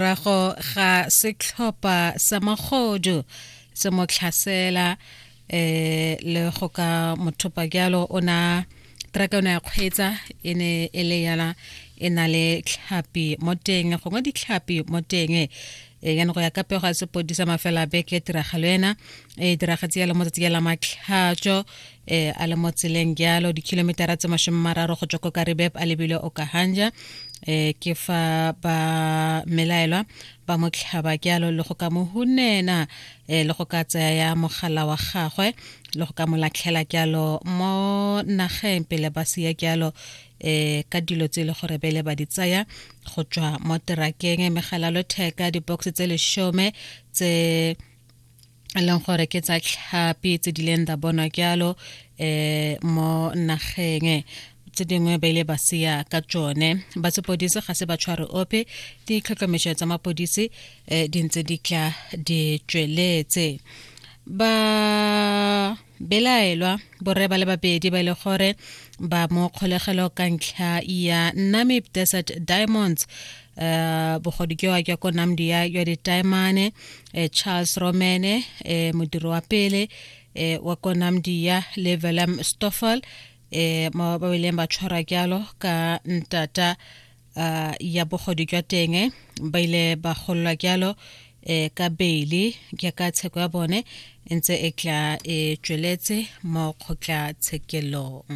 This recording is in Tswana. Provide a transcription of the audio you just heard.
Morago ga setlhopha sa magodu se mo tlhasela le go ka mothopa jalo, o na traka o ne ya kgweetsa e ne e le yana e na le tlhapi mo teng, gongwe ditlhapi mo teng. Yana go ya ka pego ya sepodisa mafela a beke, tiragalo ena e diragatse yalo mo tsatsi la Matlhatso, a le mo tseleng jalo dikilometara tse 30 go tswa ko Karibeb a lebile Okahanja, ke fa ba melaelwa ba mo tlhaba jalo le go ka mo hunena, le go ka tsaya mogala wa gagwe le go ka mo latlhela jalo mo nageng pele ba sia jalo ka dilo tse e le gore bele ba di tsaya go tswa mo terakeng, megala lotheka, di-box tse 10 tse e leng gore ke tsa tlhapi tse di leng da bonwa jalo mo nageng. Tse dingwe ba ile ba sia ka tsone. Ba sepodisi ga se ba tshware ope, ditlhotlhomišo tsa mapodisi di ntse di tla di tsweletse. Ba belaelwa borre ba le babedi ba e le gore ba mo kgolegelo ka ntlha ya Namib Desert Diamonds, bogodu jwa jwa ko Namdia jwa ditaemane, Charles Romene, modiri wa pele wa ko Namdia, le Willem Stoffel, mo ba ileng ba tshwarwa jalo ka ntata ya bogodu jwa teng. Ba ile ba gololwa jalo ka beili jaaka tsheko ya bone e ntse e tla e tsweletse mo kgotlatshekelong.